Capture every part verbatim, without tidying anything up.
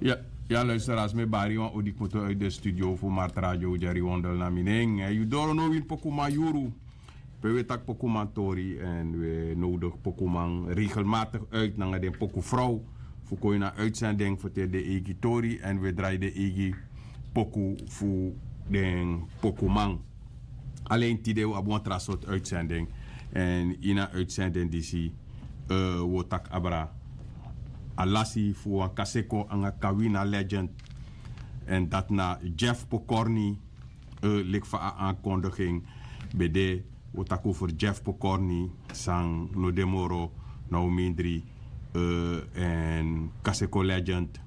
Ya, ya luisteraars, mi bari wan odi kmoto uit de studio fu Mart Radio, Jerry Wondel na mi nen. Eh, yu doro no win pokuman yuru. Pe we taki pokuman tori en we nodig pokuman regelmatig uit nanga den poku vrouw. Fu kon yu na uitzending fu te de eigi tori en we drai de eigi poku fu den pokuman. Alleen tide we abi wan tra sort uitzending. En ina uitzending disi, eh, we taki abra a lasi fu wan kaseko anga kawina legend. En dat na Jeff Pokorni, eh, lik fa a aankondiging bede, we taki over Jeff Pokorni, san no de moro, na o mindri, eh, en kaseko legend.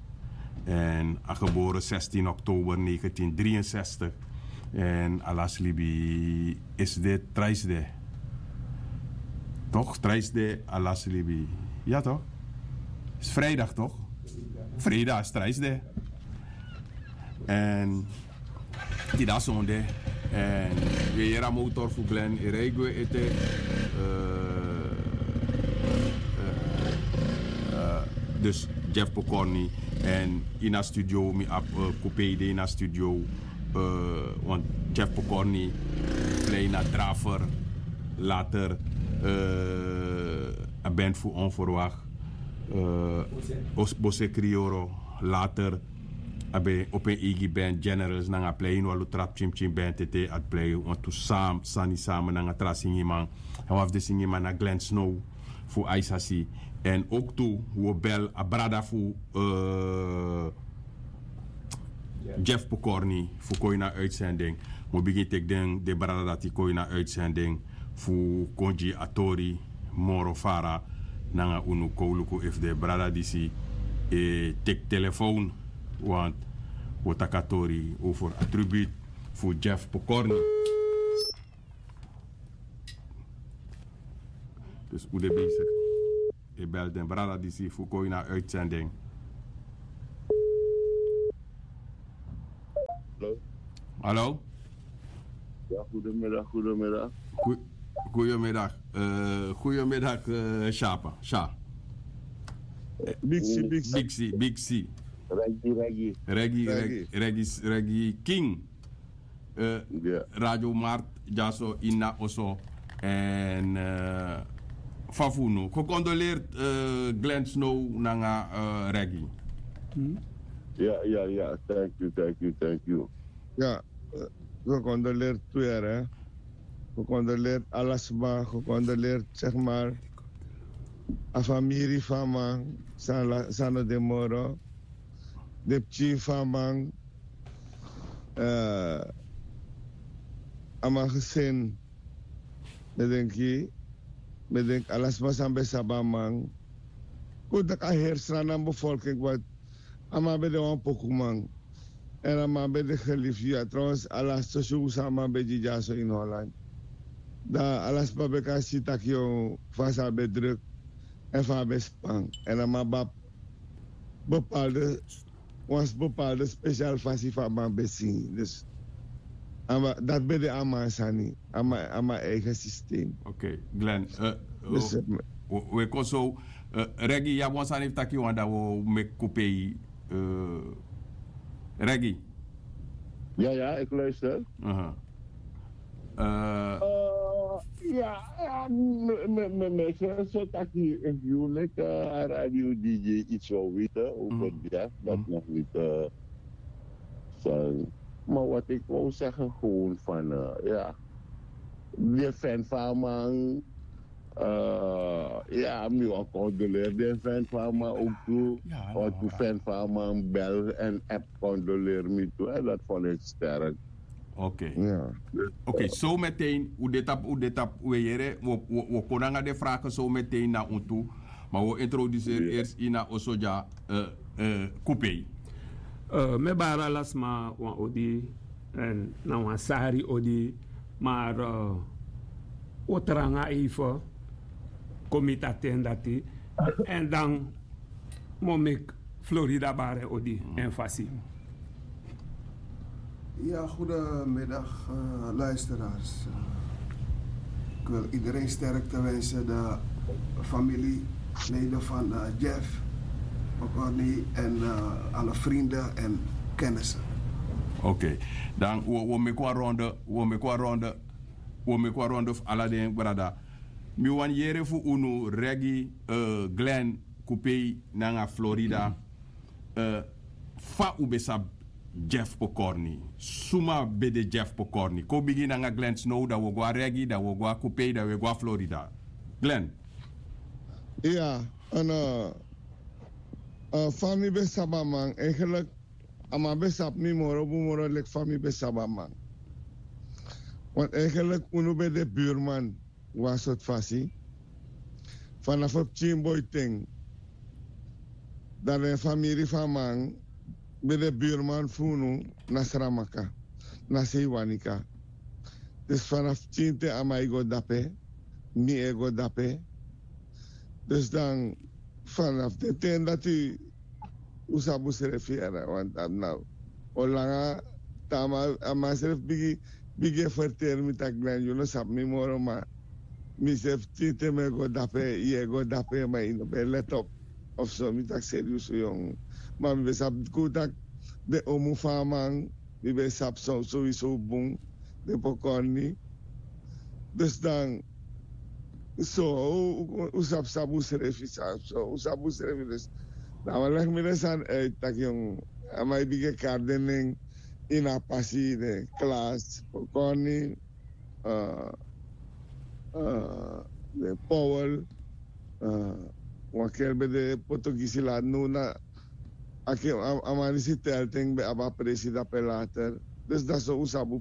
En a geboren zestien oktober negentien drieënzestig. En a lasi libi is dit trijsde. Toch? Trijsde a lasi libi. Ja, toch? Is vrijdag, toch? Vrijdag is trijsde. En tide na sonde. En we yere a motor fu Glen e rei gwe ete. Eh, eh, eh, dus Jeff Pokorni. En ina studio mi abi, eh, Kupei de ina studio. Eh, want Jeff Pokorni plei na Draver, later, eh, a band fu Onverwacht, eh, Bose Krioro, later a ben opo en eigi band Generals nanga a plei ini wan lutra pikin pikin band ete, a plei wantu sani samen nanga tra singiman. En wan fu den singiman na Glenn Snow fu Aisasi. En ook tu, we bel a brada fu, eh, Jeff Pokorni fu kon ini a uitzending. Mi o bigin teki den, den brada dati kon ini a uitzending fu kon gi a tori moro fara nanga unu. Kon luku efu den brada disi e teki telefoon, want we o taki a tori over a tribute fu Jeff Pokorni. Dus u de bezig. E bel den brada disi fu kon ini a uitzending. Hallo? Hallo? Ja, goedemiddag, goedemiddag. Goe-, goedemiddag, eh, goedemiddag, eh, Shapa, Sha. Eh, Biksi, Biksi. Biksi, Biksi. Regi, Regi. Regi, Regi. Regi, Regi, Regi King. Eh, Radio Mart, dyaso ini a oso. En, eh, fa fu unu. Gecondoleerd, eh, Glenn Snow nanga, eh, Regi. Hmm? Ja, ja, ja. Thank you, thank you, thank you. Ja, eh, gecondoleerd tu yere. Gecondoleerd ala sma, gecondoleerd, zeg maar, a famiri fu a man, san la-, san no de moro, den pikin fu a man, eh, a man gesin, mi denki, mi denki ala sma san ben sabi a man. Kon taki a heri Sranan bevolking, want a man ben de wan pokuman. En a man ben de geliefd, ja, trouwens, a laatste show san a man ben gi dyaso in Holland. Dan ala sma ben kan si taki, yo, fa san a ben druk en fa a ben span. En a man ben abi bepaalde, wan bepaalde special fasi fa a man ben singi. Dus a man, dati ben de a man sani, a man, a man eigen systeem. Oké, Glenn, eh, dus, eh, we, we kon so, eh, Regi, yu abi wan sani fu taki, wan dan wi o meki Kupei, eh, Regi. Ja, ja, ik luister. Aha. Eh, eh, ja, ja, me, me, me, me, so, so taki, if you like, eh, a radio D J iets wil weten over Jeff, dat nog niet, eh, zijn. Maar wat ik wou zeggen, gewoon van, eh, ja, de fan van a man, eh, ja, mi wani condoleer den fan fu a man ook tu. Want tu fan fu a man bel en app condoleer mi tu. En dat vond ik sterk. Oké. Ja. Oké, so meteen, u de tapu, u de tapu, we yere, we, we, we kon nanga den vragen so meteen na un tu. Maar we introduceer eerst ini a oso dya, eh, eh, Kupei. Eh, mi e bari ala sma wan odi, en na wan sari odi, maar, eh, wi o tranga even, kon miti a ten dati, en dan mi o meki Florida bari en odi, en fasi. Ja, goedemiddag, eh, luisteraars. Eh, ik wil iedereen sterkte wensen, de familieleden van, eh, Jeff. Corny en eh, alle vrienden en kennissen. Oké, dan we meki wan ronde, we meki wan ronde, we meki wan ronde fu ala den brada. Mi wani yere fu unu Regi, eh, Glen, Kupei nanga Florida. Eh, fa un ben sabi Jeff Pokorni? Suma ben de Jeff Pokorni? Kon bigin nanga Glen Snow, dan we go na Regi, dan we go na Kupei, dan we go na Florida. Glen. Ya, en eh, eh, fa mi ben sabi a man, eigenlijk a man ben sabi mi moro bun moro leki fa mi ben sabi a man. Want eigenlijk unu ben de buurman wan sort fasi. Vanaf a pikin boi ten, dan den famiri fu a man ben de buurman fu unu na Sramaka, na Seiwanika. Dus vanaf pikin ten a man e go dape, mi e go dape. Dus dan vanaf den ten dati un sabi unsrefi yara, want a no o langa te a man srefi bigin, bigin e ferteri mi taki Glen, yu no sabi mi moro, ma mi srefi pikin te mi e go dape, yu e go dape, ma yu no ben e let op of so. Mi taki serius, yongu. Ma mi ben sabi kun taki den omu fu a man, mi ben sabi so, sowieso bun, den Pokorni. Dus dan so un sabi sabi unsrefi, sabi so un sabi unsrefi. Dus dan a man legi mi den sani uit taki, yongu, a man e bigin e kari den nen ini a pasi, den Klas, Pokorni, eh, eh, den Powel, eh, wan kel ben de Potogisi lati, now na a man disi telten ben abi a presi dape later. Dus dan so un sabi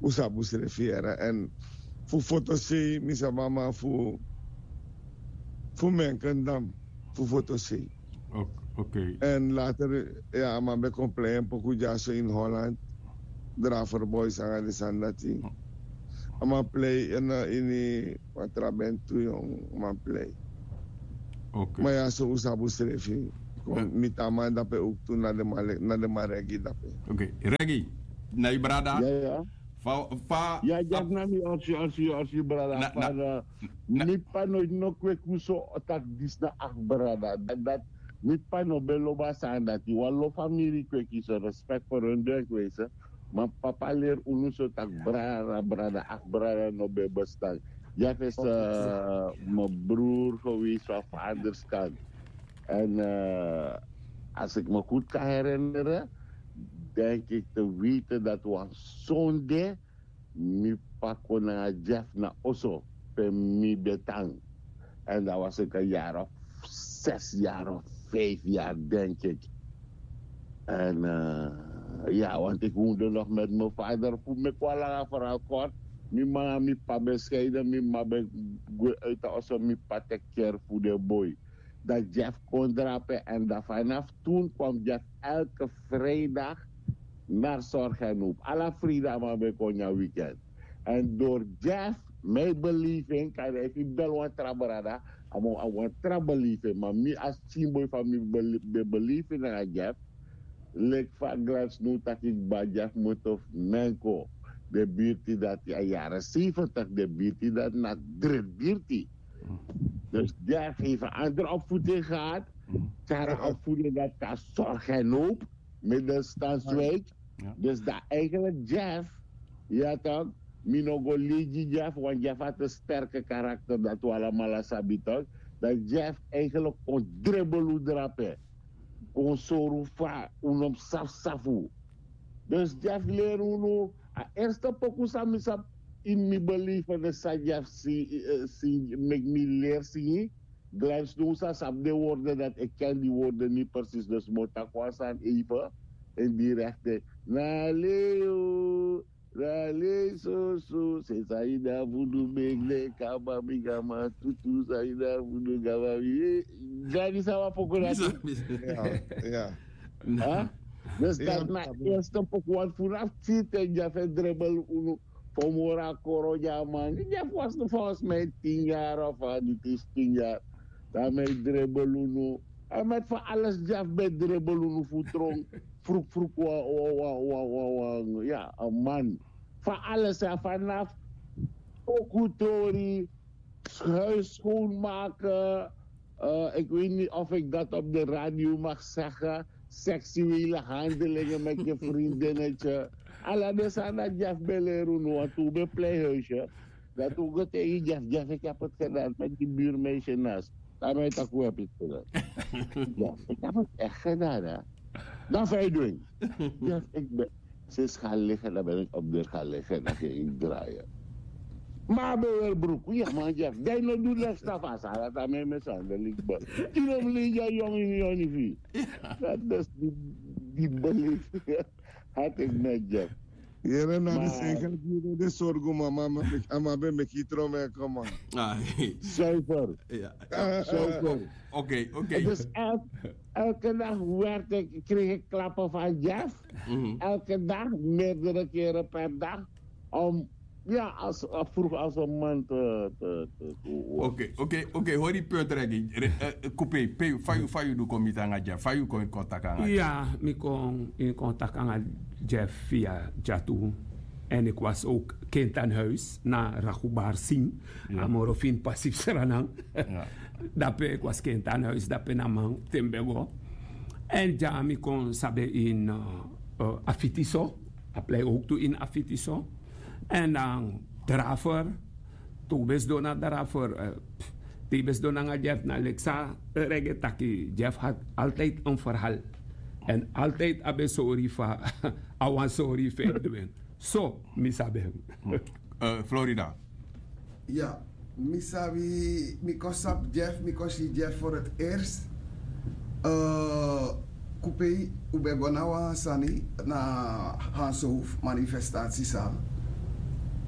unsrefi yara. En fu fotosei mi sabi a man fu fu Menkendam, fu fotosei. Ok. En later, ya, a man ben kon plei en poku dyaso ini Holland. Draver Boys nanga den sani dati. A man plei en ini wan tra ben tu, yongu, a man plei. Ma ya, so un sabi unsrefi. Kon miti a man dape owktu na den man Regi dape. Ok, Regi, na yu brada? Fa, fa, ya, dyaso na mi, orsi, orsi, orsi, brada. Mi p'pa no, no kweki un so taki disi na akti brada. Dati, mi p'pa no ben lobi a sani dati. Wan lo famiri kweki so, respek for un, den kweki so. Ma p'pa leri unu so taki brada, brada, akti brada no ben bestan. Jeff is mi broer geweest van vaders kant. En eh, als ik me goed kan herinneren, denk ik te weten dat wan sonde mi p'pa kon nanga Jeff na oso pe mi ben tan. En dat was ik een jaar of zes jaar of vijf jaar, denk ik. En eh, ja, want ik woonde nog met mijn vader. Fu meki wan langa verhaal kort, mi mama, mi p'pa ben scheiden, mi mama ben gwe uit a oso, mi p'pa teki care fu den boi. Dat Jeff kon drape. En dan vanaf toen kwam Jeff elke vrijdag naar Zorg en Hoop. Ala vrijdag a man ben kon na weekend. En door Jeff, mijn beleving, kan hij niet bel wan tra brada, a man a wan tra beleving. Maar mi als teamboy van mi bele-, ben beleving na Jeff. Leki fa Glen Snow taki, kba Jeff Mutuf Menko. De birti dati a jaren zeventig, de birti dati na drit birti. Dus Jeff heeft een andere opvoeding gehad. Kara opvoeding dat kan Zorg en Hoop, middenstandswijk. Dus dat eigenlijk Jeff, ja toch, mi no go legi Jeff, want Jeff had een sterke karakter, dat we allemaal sabi toch. Dat Jeff eigenlijk kon dribbel un drape, kon sori fa un no mus safu safu. Dus Jeff leri unu, a eerste poku san mi sabi in mi belevenis san Jeff si, eh, si, meki mi leri singi. Glen Snow sa sabi den woorden, dat ik ken die woorden niet precies, dus mi o taki wan sani even in die richting. Na leo, na leo so so, se san yu de fu du, meki den kaba mi gama tutu, san yu de fu du gama mi. Gani, san wan poku dati. Ya, ya. Dus dat na eerste poku, want vanaf tien ten Jeff e dribbel unu. Fu moro a koro di a man, Jeff was nog volgens mij tien jaar of a, niet eens tien jaar. Dan mi e dribbel unu. En met van alles Jeff ben dribbel unu fu tron. Vroeg, vroeg, wa, wa, wa, wa, wa, wa. Ja, een man. Van alles, hè, vanaf pokutori, huis schoonmaken, Ik weet niet of ik dat op de radio mag zeggen. Seksuele handelingen met je vriendinnetje. Ala den sani dati Jeff ben leri unu, want un ben plei huisje. Dati un go taigi Jeff, Jeff, ik heb het gedaan met die buurmeisje naast. Dan ben je toch weer pitelen. Ja, ik heb het echt gedaan, hè. Dan fa yu du en? Jeff, ik ben, sinds gaan liggen, dan ben ik op deur gaan liggen en dan ging ik draaien. Ma a ben weri bruku, ya man, Jeff, dan yu no du leki stafu, a sani dati a mi e mishandel leki bun. Yu no mus lei a yongu ini yu onifi. Dati dus di, di belefi. Hati eki met Jeff. Yere, na mi seni kan gi den sorgu, mama, a man ben meki yu tron, man, come on. Zuiver. Zuiver. Oké, oké. Dus elke, elke dag werd ik, kreeg ik klappen van Jeff. Elke dag, meerdere keren per dag. Om, ja, als, vroeg als een man te, te, te, te Oké, oké, oké, hori punt regi. Kupe, fa yu, fa yu du kon miti nanga Jeff, fa yu kon in contact nanga Jeff? Ya, mi kon in contact nanga Jeff via Jatu. En ik was ook kind aan huis na Ragubar Singh. A moro fini pasi fu Sranan. Dape, ik was kind aan huis, dape na man te mi ben go. En ya, mi kon sabi in, eh, eh, Afitiso. A plei ook tu in Afitiso. En dan Draver, te un ben sidon na Draver, eh, te yu ben sidon nanga Jeff, na leki san Regi e taki, Jeff had altijd een verhaal. En altijd a ben sori fa a wani sori fu en du en. So mi sabi en. Eh, Florida. Ya, mi sabi, mi kon sabi Jeff, mi kon si Jeff voor het eerst. Eh, Kupei, un ben go na wan sani, na Hanshoofd manifestatiezaal.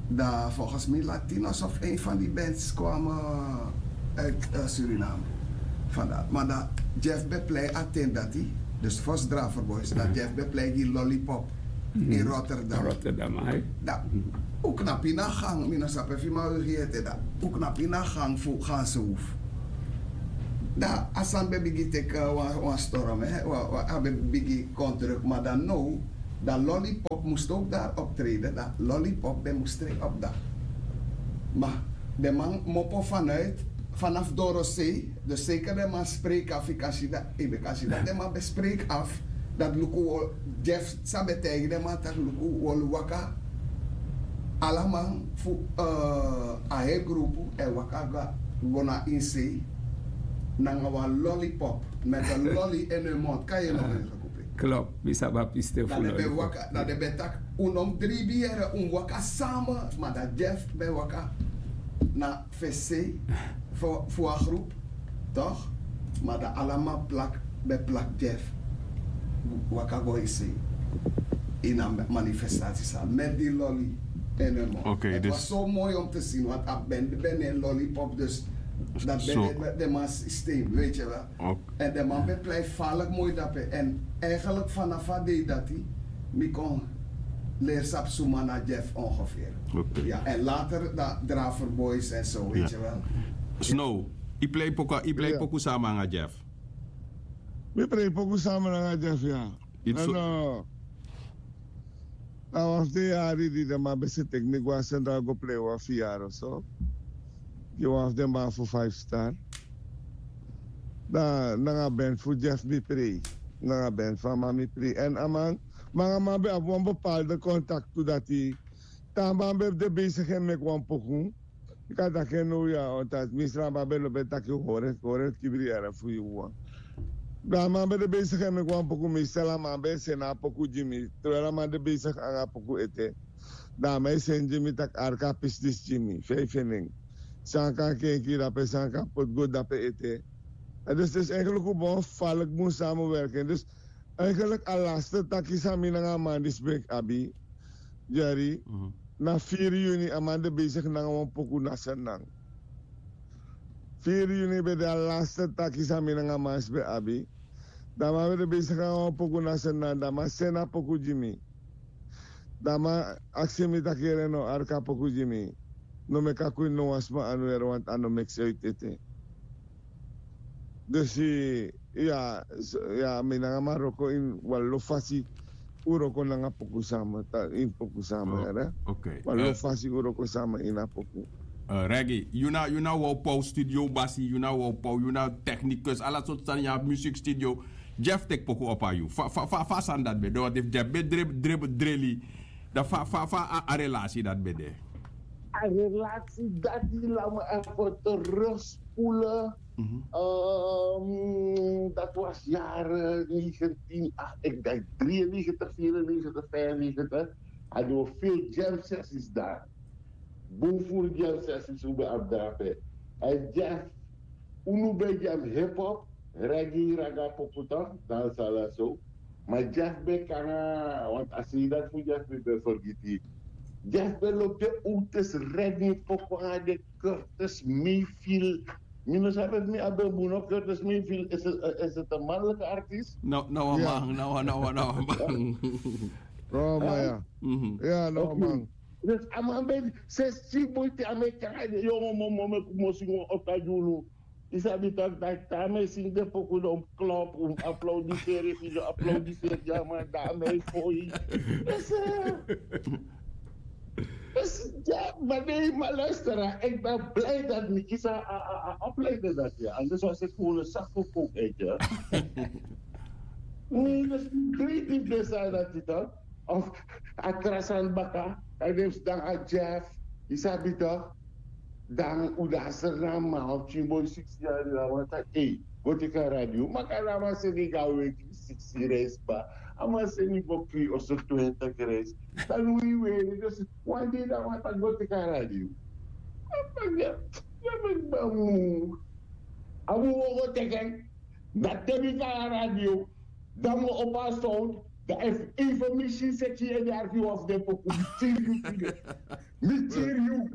Dan volgens mij Latinos of een van die bands kwamen uit, eh, Suriname. Vandaar. Maar dan Jeff ben plei a ten dati, dus Vos Draver Boys, dan Jeff ben plei gi Lollipop in Rotterdam. Rotterdam, ai. Dan un knapu ini a gang, mi no sabi efu yu man wigi ete, dan un knapu ini a gang fu Hanshoofd. Dan a sani ben bigin teki, eh, wan, wan storm, hè, wan, wan, a ben bigin kon druk, maar dan now, dan Lollipop moest ook daar optreden, dan Lollipop ben moest treed op dan. Maar den man mopo vanuit, vanaf Dorosee, dus zeker den man spreek af, yu kan si dati, yu kan si dati den man ben spreek af, dati luku, Jeff sa ben taigi den man taki luku, wi o waka, ala man fu, eh, a heri grupu e waka go na ini sei nanga wan Lollipop, met een lolly in hun mond. Kan je nog even, Kupei? Klopt, mi sabi a pisten fu Lollipop. Dan den ben taki, un no mus dribi yere, un mus waka samen, maar dan Jeff ben waka na fesi fu, fu a groep, toch? Maar dan ala man plak, ben plak Jeff. Waka go ini sei, ini a manifestatiezaal, met die lolly in hun mond. Oké, het was zo mooi om te zien, want a ben, ben een Lollipop, dus dat ben de, de man systeem, weet je wel. En den man ben plei falek moi dape. En eigenlijk vanaf a dei dati, mi kon leri sabi suma na Jeff ongeveer. Oké. Ja, en later dan Draver Boys en zo, weet je wel. Snow, yu plei poku, yu plei poku samen nanga Jeff. Mi plei poku samen nanga Jeff, ya. En, eh, na wan fu den yari di den man ben sa teki mi go na Centraal go plei wan fu yari so. Gi wan fu den man fu Five Star. Dan nanga band fu Jeff mi prei. Nanga band fu a man mi prei. En a man, ma a man ben abi wan bepaalde contact tu dati. Te a man ben de bezig en meki wan poku. Yu kan taki en now ya, omdat mi sra a man ben lobi taki hori, hori kibri yara fu yu wan. Dan a man ben de bezig en meki wan poku, mi sra a man ben seni a poku gi mi. Terwijl a man de bezig nanga poku ete. Dan a man e seni gi mi taki arka pisi disi gi mi, feifi nen. San kan kenki dape, san kan poti go dape ete. En dus, dus eigenlijk un bon falek bun samenwerking. Dus eigenlijk a laste taki san mi nanga a man disi ben abi, Jerry, na firi yuni a man de bezig nanga wan poku na Sranan. Firi yuni ben de a laste taki san mi nanga a man disi ben abi. Dan a man ben de bezig nanga wan poku na Sranan, dan a man seni a poku gi mi. Dan a man aksi mi taki yere no, arka poku gi mi. No meki a kwin no wan sma anu yere, want a no meki sensi ete. Dus, eh, ya, ya, mi nanga a man wroko ini wan lo fasi, un wroko nanga poku samen, ta, ini poku samen, yere. Wan lo fasi un wroko samen ini a poku. Regi, yu na yu na wow pow studio basi, yu na wow pow, yu na technicus, ala sortu sani, yu abi music studio. Jeff tek poku opa yu fa fa fa fa sani dati ben de want efu Jeff ben dre dre dreli, dan fa fa fa a relasi dati ben de. A relasi dati lama ervoto rustpule. Dat was jaren negentien acht ik denk drieënnegentig vierennegentig vijfennegentig. Hadden we veel jam sessies daar. Boven jam sessies we ben afdrape. En Jeff, unu ben jam hip-hop, reggae, raga, poputan, dan sala so. Maar Jeff ben kanga want a sei dat fu Jeff mi ben forgiti. Jeff ben lobi de otis, reggae, poku anga de Curtis Mayfield. Mi no sabi efu mi abi en bun no. Curtis Mayfield, is het een mannelijke artiest? No, no, man, no, no, no, man. No, man, ja. Ja, no, man. Dus a man ben sesi boiti a man e kanga de yongo momo me kumosi wan ota di unu. Yu sabi taki taki te a man e singi den poku dan un klop, un aplaudiseri efu yu no aplaudiseri ya man dan a man e foi. Ese. Ese. Ya, ma den yu man luistera, ik ben blij dat mi kisi a a a opleiding dati ya, anders was ik gewoon een zakkoekkook uit ya. Nee, dat is niet creatief design dat yu toch. Of a tra sani baka, a den fu sidon a Jeff, yu sabi toch. Dan un de a Sranan man, a pikin boi siksi yari, a man taki ei, go teki a radio. Maka na a man seni go a weki siksi reis kba. A man seni go kri oso twintig reis. Dan un e weri dus wan dei dan a man taki go teki a radio. A man taki ya, ya meki mi a mu, a mu go go teki en. Dan te mi go a radio, dan mi o opo a sound. Dan efu informasi seki yu e de arki wan fu den poku mi tiri yu tide. Mi tiri yu.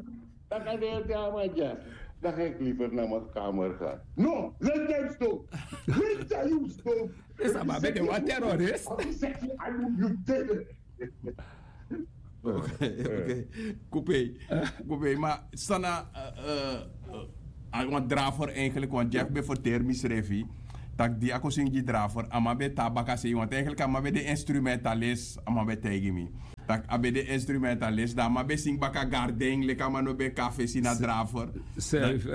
Dan kan den e teki a man dya. Dan ga ik liever na mi kamer gaan. No, let them stop. Let them stop. Is a man ben de wan terrorist. Of yu seki anu yu tede. Oké, oké. Kupei. Kupei ma sana. A wan draver eigenlijk want Jeff ben ferteri misrefi. Tak' di a kon singi gi draver a man ben tan baka sei want eigenlijk a man ben de instrumentalis a man ben taigi mi. Tak' a ben de instrumentalis dan a man ben singi baka garden leki a man no ben kan fesi na draver.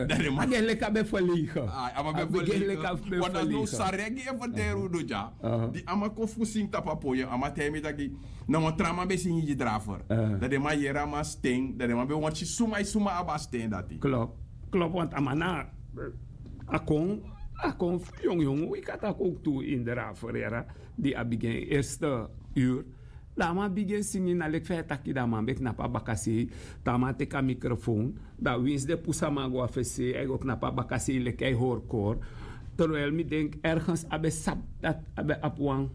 Dan den man a gen leki a ben ferlegen. A man ben ferlegen. Want dan no saregi e ferteri unu dya. Di a man kon fu singi tapu a poyem a man taigi mi taki na wan tra man ben singi gi draver. Dan den man yere a man sten dan den man ben wani si suma e suma abi a sten dati. Klop. Klop want a man na a kon a kon fu yongyong wiki a taki owktu ini draver yara. Di a bigin en erste ur. Dan a man bigin singi na leki fa e taki dan a man ben knapu a bakasei. Dan a man teki a mikrofoon. Dan winsi den pusu a man go a fesi sei a e go knapu a bakasei leki a e hori kori. Terwijli mi denki ergens a ben sabi dati a ben abi wan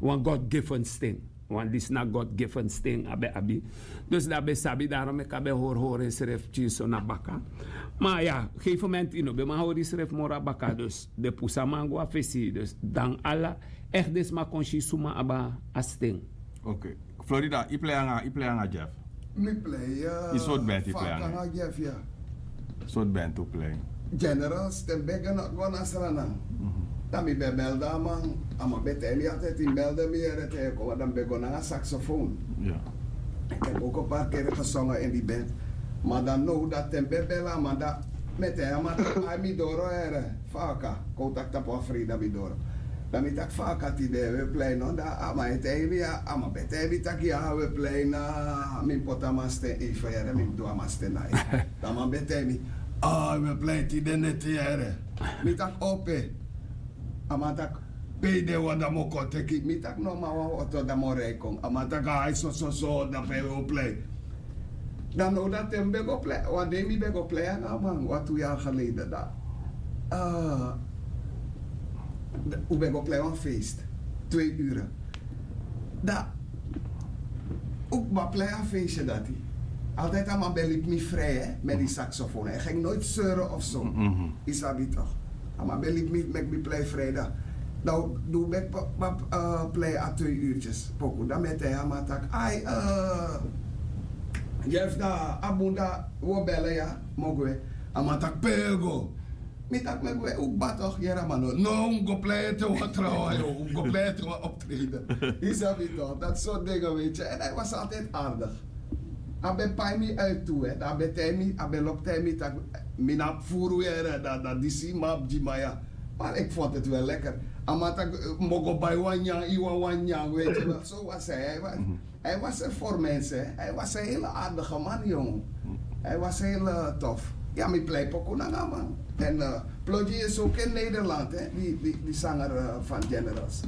wan god given sten. Wan disi na god given sten a ben abi. Dus dan a ben sabi daron meki a ben hori hori ensrefi pikinso na baka. Ma ya, gefen momenti yu no ben man hori yusrefi moro na baka dus den pusu a man go a fesi dus dan ala. Ekti den sma kon si suma abi a sten. Florida yu plei nanga jeff? Mi plei. Yu soti benti yu plei nanga jeff ya. Soti benti un plei? Generals ten mi ben go na sranan. Dan mi ben belde a man. A man ben taigi mi altide tin belde mi yere te yu kon dan mi ben go nanga saxofoon. Ten mi o kon parkeri gesonge ini di bent. Ma dan now dati ten mi ben bele a man dan mi e taigi a man taki ai mi doro here. Fa a kan kon un taki tapu wan freida mi doro. Dan mi taki fa a kan tide we plei no dan a man e taigi mi ya a man ben taigi mi taki ya we plei na mi mus poti a man sten eifen here mi mus du a man sten na eifen. Dan a man ben taigi mi ai we plei tide neti here. Mi taki ope. A man taki pe yu de wan dan mi o kon teki mi taki no man wan oto dan mi o rei kon a man taki ai sososo dan pe yu o plei. Dan now dati ten mi ben go plei wan dei mi ben go plei nanga a man wan tu yari geleden dan un ben go plei wan feest. Twee ure dan un kba plei a feestye dati. Altijd a man ben libi mi frei met die saxofoon en ging nooit seuren of zo. Yu sabi toch? A man ben libi mi meki mi plei freida. Dan di un ben kba plei a twee uurtjes poku dan mi e taigi a man taki ai. Jeff dan a bun dan un o bele ya. Mi o gwe. A man taki pe yu e go? Mi taki mi e gwe un kba tok' yere a man no no un mus go plei ete wan trawan yo un mus go plei ete wan optreden. Yu sabi tok' dati sortu denge weiti en a e wasi altide ardig. A ben pai mi uit tu, hè. Dan a ben tei mi, a ben lobi tei mi tak' mi na abi furu yere, dan, dan disi man abi gi man ya. Maar ik vond het wel lekker. A man tak' mi bo go bai wan nyan, yu wani wan nyan, weet je wel. Zo was hij. Hij was, hij was er voor mensen, hè. Hij was een hele aardige man, jong. Hij was heel eh, tof. Ya, mi plei poku nanga man. En eh, Plodji is ook in Nederland, hè. Die, die, die zanger eh, van Generals.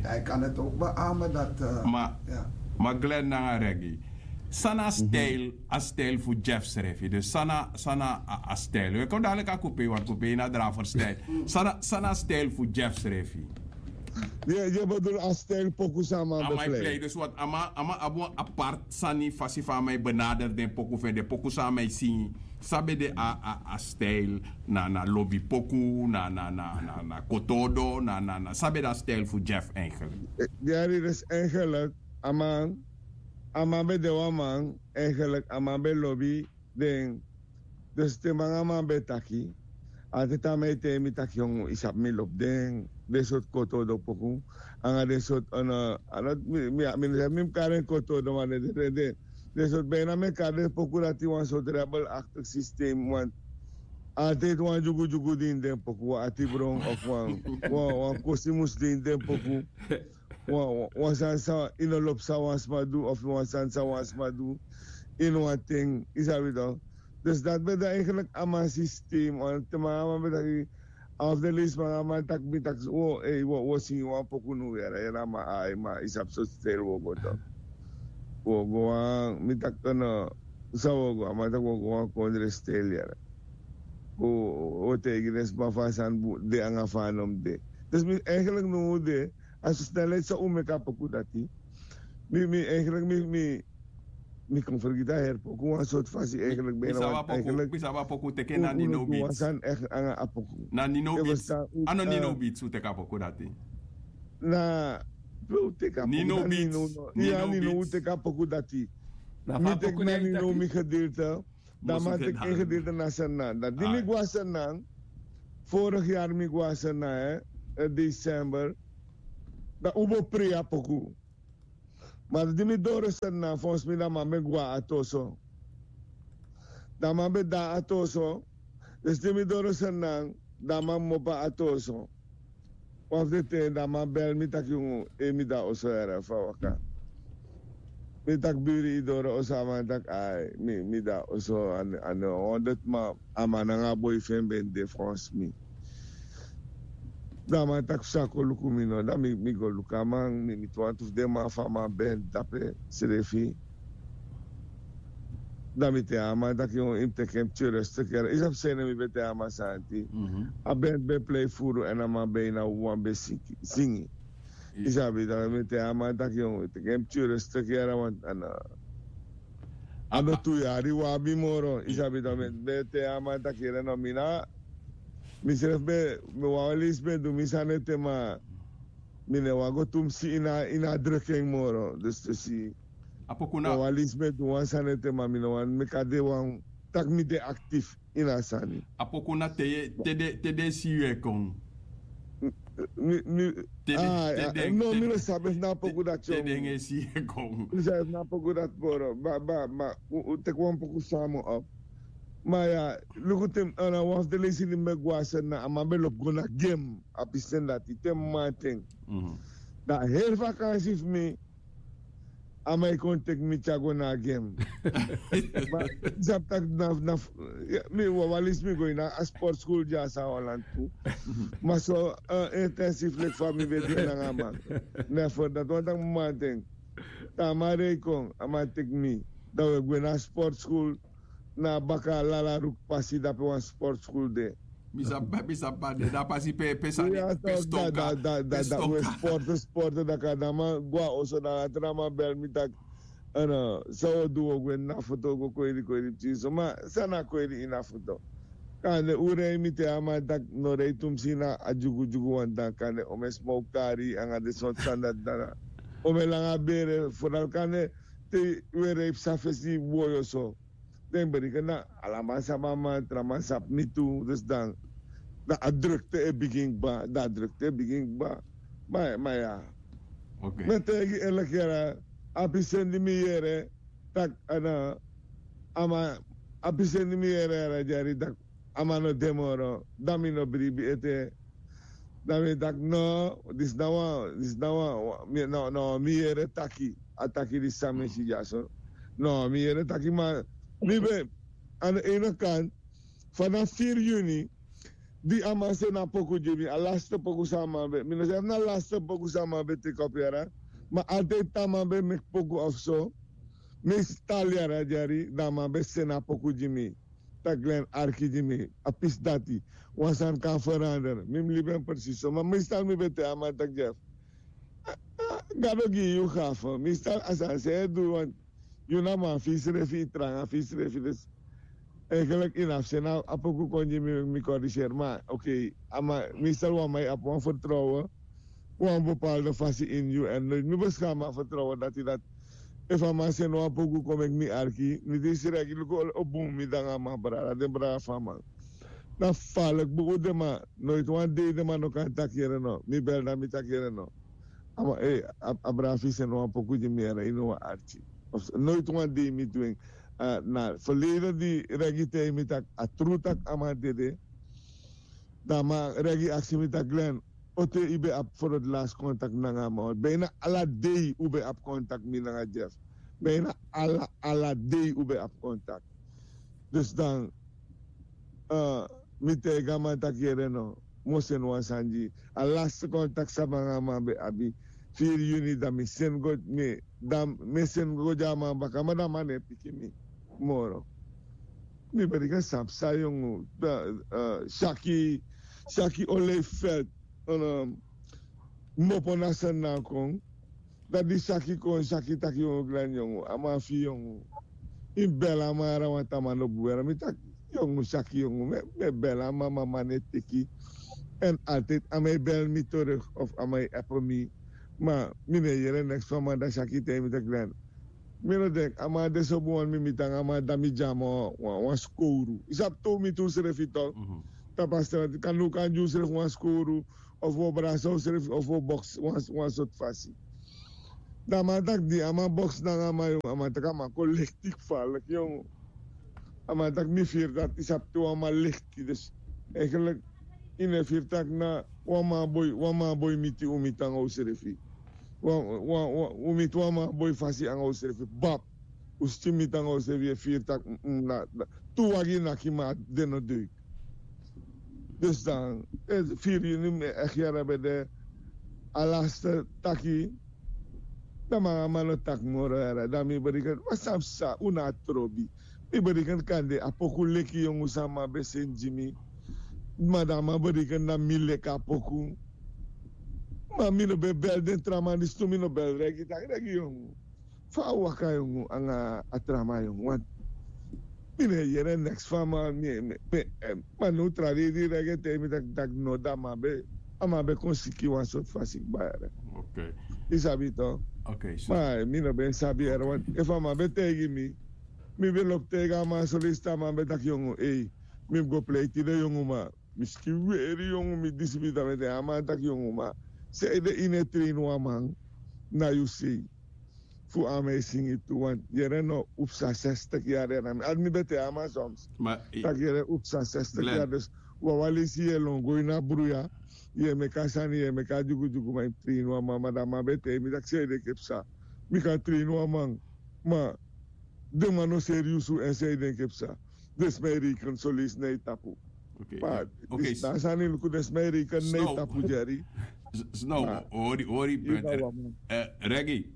Hij kan het ook beamen dat eh, Ma, ja. Ma Glenn nanga Reggie. San na a stijl, a stijl fu Jeff srefi. Dus san na, san na a, a stijl. We kon dadelijk a kopie, want kopie na draver stijl. San na, san na a stijl fu Jeff srefi. Ye, ye bedoel a stijl poku san a man A man e plei. beplei. Dus wat a man, a man abi wan apart sani fasi fa a man e benader den poku fu en, den poku san a man e singi. San ben de a, a, a stijl na, na lobi poku, na, na, na, na, na kotodo, na, na, na. San ben de a stijl fu Jeff eigenlijk. Gary, dus eigenlijk, a man, a man ben de wan man, eigenlijk, a man ben lobi den. Dus te man a man ben taki, altijd a man e tei mi taki, jong, yu sabi mi lobi den, den sortu kotodo poku, anga den sortu, eh, a no, mi, mi, mi, mi, mi kari en kotodo, ma den, den, den, den sortu, bijna mi e kari den poku dati wan sortu rebelachtig systeem, want altijd wan dyugudyugu de ini den poku, wan atibron of wan, wan, wan kosi mus de ini den poku. Wan, wan, wan sani san yu no lobi san wan sma du, of wan sani san wan sma du, ini wan ten, yu sabi toch. Dus dati ben de eigenlijk a man systeem, want te man a man ben taki, of de leisi man a man taki mi taki, wo, ei, wo, wo singi wan poku now yere, yere a man, ai, ma yu sabi sortu stijl wo go toch. Wo go wan, mi taki no, san wo go, a man taki wo go wan kondre stijl yere. Wo, wo taigi den sma fa a sani de anga fa a no mus de. Dus mi eigenlijk now de, a so snelheid san un meki a poku dati. Mi, mi, eigenlijk, mi, mi, mi kon fergiti a heri poku wan sortu fasi eigenlijk, bijna wan, eigenlijk, mi sabi a poku teke na Nino Beats. Wan sani echt anga a poku. Na Nino Beats. A no Nino Beats un teke a poku dati. Na, we un teke a poku dati. Nino Beats. Ya, Nino un teke a poku dati. Mi teke na Nino mi gedeelte. Dan man teki en gedeelte na Sranan. Dan di mi go a Sranan, vorig jaar mi go a Sranan, hè, in december, dan un bo prei a poku. Ma di mi doro Sranan, volgens mi dan man ben go a Atoso. Dan man ben de a Atoso. Dus di mi doro Sranan, dan man mopo a Atoso. Wan fu den ten dan man bel mi taki, yungu, e mi de a oso yere, fa waka. Mi taki, biri, yu doro oso? A man taki, ai, mi, mi de a oso, a no, a no honderd, ma a man nanga a boi fu en ben de, frans mi. Dan a man taki fu sa kon luku mi no, dan mi, mi go luku a man, mi miti wantu fu den man fu a man ben dape srefi. Dan mi teki a man taki, yungu, yu mus teki en pikin rustig yere. Yu sabi san mi ben teki a man santi. A ben, ben plei furu èn a man ben na wan ben singi. Yu sabi, dan mi teki a man taki, yungu, teki en pikin rustig yere, want a no, a no tu yari wi abi moro. Yu sabi, dan mi ben teki a man taki, yere no, mi na, mi srefi ben, mi wawan leisi ben du mi sani ete, ma mi no e wani go tumsi ini a, ini a druk en moro. Dus tu si. A poku na. Wan leisi mi e du wan sani ete, ma mi no wani meki a de wan, taki mi de actief ini a sani. A poku na te, te den, te den si yu e kon. Mi, mi, te den, ah, te ya, den, no, te mi no den, sabi efu na a poku dati, te den e si yu e kon. Mi sabi efu na a poku dati, boro. Ma, ma, ma, un, un teki wan poku samen op. Ma ya, luku te, a na wan fu den leisi di mi ben go a Sranan, a man ben lobi go na game, a pisten dati, te mamanten. Dan heri vakansi fu mi, a man e kon teki mi tyari go na a game. Ma, sabi taki na, na, ya, mi, wan, wan leisi mi go ini a sportschool dya a San Holland tu. Ma so, eh, intensief leki fa mi ben de nanga a man. Ne, fu dati wan taki mamanten. Te a man rei kon, a man teki mi. Dan wi e gwe na sportschool, na baka Lala Ruk pasi, dape wan sportschool de. Mi sabi, mi sabi, a de na a pasi pe, pe sani, ya, pe so, stoka, da, da, da, pe da, da, wi e stoka. Sporte, sporte, dan kande a man go a oso, dan a tra man bel mi taki, a no, san wi o du, wi o gwe na foto, go kweri, kweri pikinso. Ma san na kweri ini a foto? Kande un rei, mi teki a man taki no rei tumsi na a dyugudyugu wan, dan kande un e smoke kari anga den sortu sani dati, dan un e langa bere, vooral kande te wi e rei psa fesi boi oso. Den bereken na, ala man sabi a man, tra man sabi mi tu, dus dan, dan a drukte e bigin kba, dan a drukte e bigin kba. Ma, ma ya. Oké. Mi e taigi yu eerlijk yere, a pisten di mi yere, tak' a no, a man abi seni mi yere yara dyari tak' a man no de moro, dan mi no bribi ete. Dan mi taki no, disi na wan disi na wan mi no no mi yere taki a taki disi san mi e si dyaso. No mi yere taki ma mi ben a no eini kan fana firi yuni di a man seni a poku gi mi a laste poku san a man ben mi no seni na laste poku san a man ben teki opi yara. Ma altide te a man ben meki poku of so mi e si tali yara dyari dan a man ben seni a poku gi mi. Taki glen arki gi mi a pisi dati wan sani kan ferander mi mus libi en presis so ma mi stan mi ben te a man taki dyef. Gado gi yu gafe mi stan a sani se e du wan yu na man fi srefi tranga fi srefi dus. Enkelek ina fu seni a poku kon gi mi mi koriser ma ok. Mi stan wan man yu abi wan fertrouwen wan bepaalde fasi ini yu èn noit mi beskama fertrouwen dati dati. Efu a man seni wan poku kon meki mi arki mi disi regi luku o bun mi danga a man brada den brada fu a man. Dan falik buku den man noit wan dei den man no kan taki yere no mi bel dan mi taki yere no. A man a brada fu yu seni wan poku gi mi yere ini wan arki. Noit wan dei mi dwing na ferleden di regi tei mi taki a tru taki a man dede. Dan a man regi aksi mi taki glen ote yu ben abi for di lasi kontak nanga a man wan bina ala dei un ben abi kontak mi nanga jeff. Bina ala ala dei un ben abi kontak. Dus dan mi taigi a man taki yere no. Mi o seni wan sani gi yu a laste kontak san mi nanga a man ben abi. Firi yuni dan mi seni go mi dan mi e seni go gi a man baka ma dan a man no e piki mi moro. Mi beriken san psa yongu saki saki o lei felt. Mopo na sani na a kon. Dan di saki kon saki taki yongu glen yongu a man fi yongu. Yu mus bel a man yara wan taman no bun weri mi taki yongu saki yongu mi e bel a man ma a man no e teki. Èn altide a man e bel mi tori of a man e epo mi. Ma mi no e yere neks fu a man dan saki taigi mi taki glen. Mi no denki a man de so bun wani mi miti nanga a man dan mi gi a man wan skowru yu sabi tow miti unsrefi tok. Tapu a strati kan no kan gi unsrefi wan skowru of wi o brasa unsrefi of wi o boksi wan sortu fasi. Dan a man taki di a man boksi nanga a man yongu a man taki a man kon lekti kfalik yongu. A man taki mi firi dati yu sabi te wan man lekti dus. Eigenlik yu no e firi taki na wan man boi wan man boi miti un miti nanga unsrefi. Un miti wan man boi fasi nanga unsrefi bab. Un skin miti nanga unsrefi yu e firi taki na tu wagi naki ma den no dei. Dus dan firi yuni mi e eki yara ben de a laste taki. Dan man a man no taki moro yara dan mi beriken wan san psa un na a trobi. Mi beriken kande a poku leki yongu san a man ben seni gi mi. Ma dan a man beriken na mi leki a poku. Ma mi no ben bel den tra man disi tu mi no bel regi taki regi yongu. Fa a waka yongu anga a tra man yongu wan. Mi no e yere neks fu a man mi e mi e ma no tra dei di regi e taigi mi taki taki no dan a man ben a man ben kon siki wan sortu fasi kba yara. Yu sabi tok. Ma mi no ben sabi yara wan efu a man ben taigi mi. Mi ben lobi taigi a man soleisi te a man ben taki yongu ei. Mi mus go pleiti den yongu ma mi skin weri yongu mi disi mi dan mi e taigi a man taki yongu ma sanede yu no e treini wan man. Na yu sei fu a man e singi tu wan yere no un psa sestik yari yari na mi adi mi ben te a man soms. Taki yere un psa sestik yari dus wawan leisi yu e lon go ini a bruya. Yu e meki a sani yu e meki a dyugudyugu ma yu mus treini wan man ma dan a man ben te mi taki sanede enke psa. Mi kan treini wan man ma den man no seri yu su èn san yu denki e psa. Den sma e reiken soleisi na yu tapu. Ma disi na a sani luku den sma e reiken na yu tapu dyari. Snow hori hori. Regi.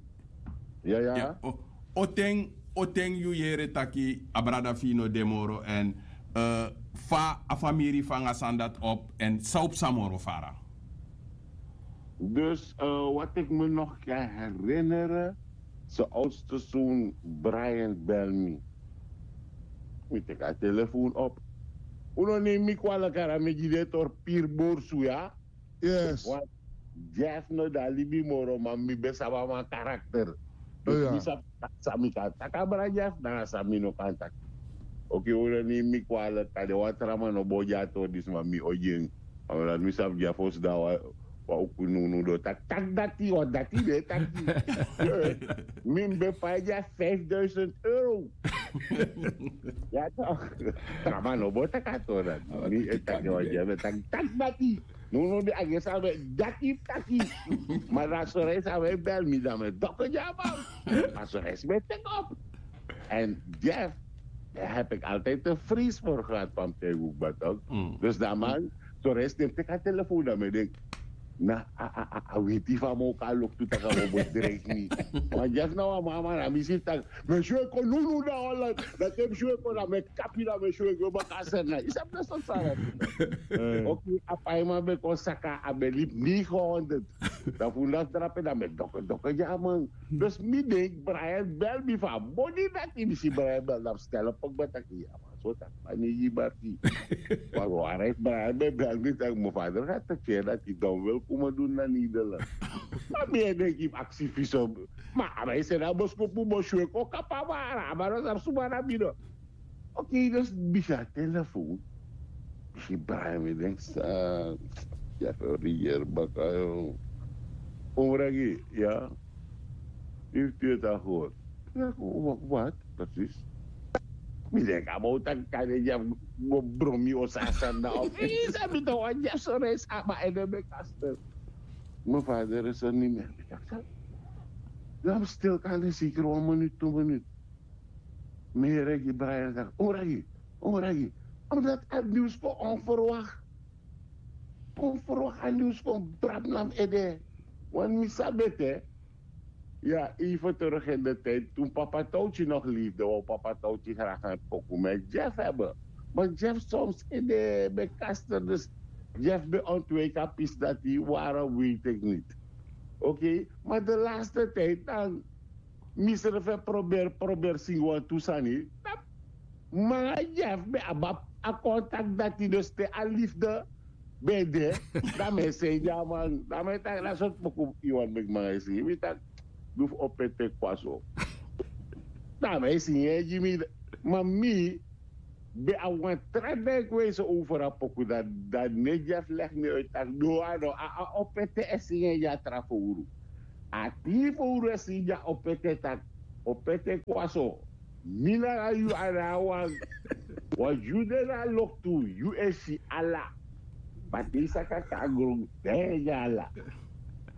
Oten oten yu yere taki a brada fi yu no de moro èn fa a famiri fu nanga sani dati op èn san o psa moro fara. Dus wat ik me nog kan herinneren, zijn oudste zoon Brian bel mi. Mi teki a telefoon op. Un no neem mi kwalik ara mi gi den tori piri borsu ya. Yes. Want jeff no de a libi moro ma mi ben sabi a man karakter. Dus mi sabi san mi kan taki a brada jeff nanga san mi no kan taki. Oke un no neem mi kwalik a de wan tra man no bo gi a tori disi ma mi o gi en. A man dati mi sabi jeff o sidon a wan Wan uku nunu do taki taki dati wan dati de taki. Mi mi ben pai dia vijfduizend euro. Ya toch. Traman no bo taki a tori dati. Mi e taki wan dia ben taki taki dati. Nunu de a gesi a ben dati taki. Ma dan sore san ben bel mi dan mi doko dia man. Ma sore san ben teki op. En Jeff, daar heb ik altijd een vrees voor gehad van Tijguk Batok. Dus dan man, zo reis neem ik aan telefoon dan ben ik na a witi van mo kan lok tu taka mo bedreig mi. Want Jeff na wan mama na mi si tak, me sure kon nunu na Holland. Dat heb sure kon na me kapi na me sure go baka serna. Is heb na so sara. Oké, a paima ben kon saka a ben lip negen honderd. Dan fu na drape dan ben dokke dokke ja man. Dus mi denk Brian bel mi van body dati mi si Brian bel dan stel op ook ben taki ya man. So taki man negi barki. Maar we waren Brian ben bel mi taki mijn vader gaat te keer dati dan wil komen doen naar Nederland. Maar mi denk ik activism. Maar a ben se na boskopu boswe ko kapa mara a ben no sabi suma na bido. Oké, dus bisa telefoon. Bisi Brian mi denk sa ya fori yer baka yo. Omragi ya. Heeft u het al gehoord? Ja, wat, wat precies? Mi denk a bouta kade dia go bromi o sasanda of isa mi to wan dia so reis ama ede be kaster. Mijn vader is er niet meer. Dan stil kan de zeker wan minuut, twee minuut. Mi regi Brian taki, oragi, oragi. Omdat a nieuws kon onverwacht. Onverwacht a nieuws kon brab na mi ede. Want mi sabi het, hè. Ja, even terug in de tijd toen papa Touwtje nog leefde, wou papa Touwtje graag een pokoe met Jeff hebben. Maar Jeff soms in de bij Kaster, dus Jeff bij ontwijk a pis dat die waren, weet ik niet. Oké, maar de laatste tijd dan Misrefe probeer probeer singi wantu sani. Manga Jeff ben abi a contact dati dus te a liefde ben de. Dan mi e seni a man dan mi e taki na sortu poku yu wani meki manga e singi mi taki du fu opo ete kwaso. Dan mi e singi en gi mi. Ma mi ben abi wan tra denkwijze over a poku dati. Dan ne Jeff legi mi uit taki no a no a opo ete e singi en gi a tra fowru. A tin fowru e singi a opo ete taki opo ete kwaso. Mi nanga yu a na a wan. Wan yu de na a loktu yu e si ala. Ma te yu saka kon na gron dan yu e gi ala.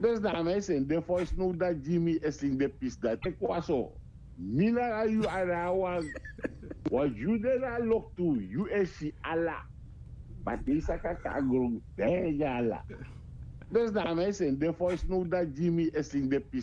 Dus dan a mi e seni den voice note dati gi mi e singi den pisi dati ete kwaso. Mi nanga yu a na a wan. Wan yu de na a loktu yu e si ala. Ma te yu saka kon na gron dan yu e gi ala. Dus dan a mi e seni den voice note dati gi mi e singi den pisi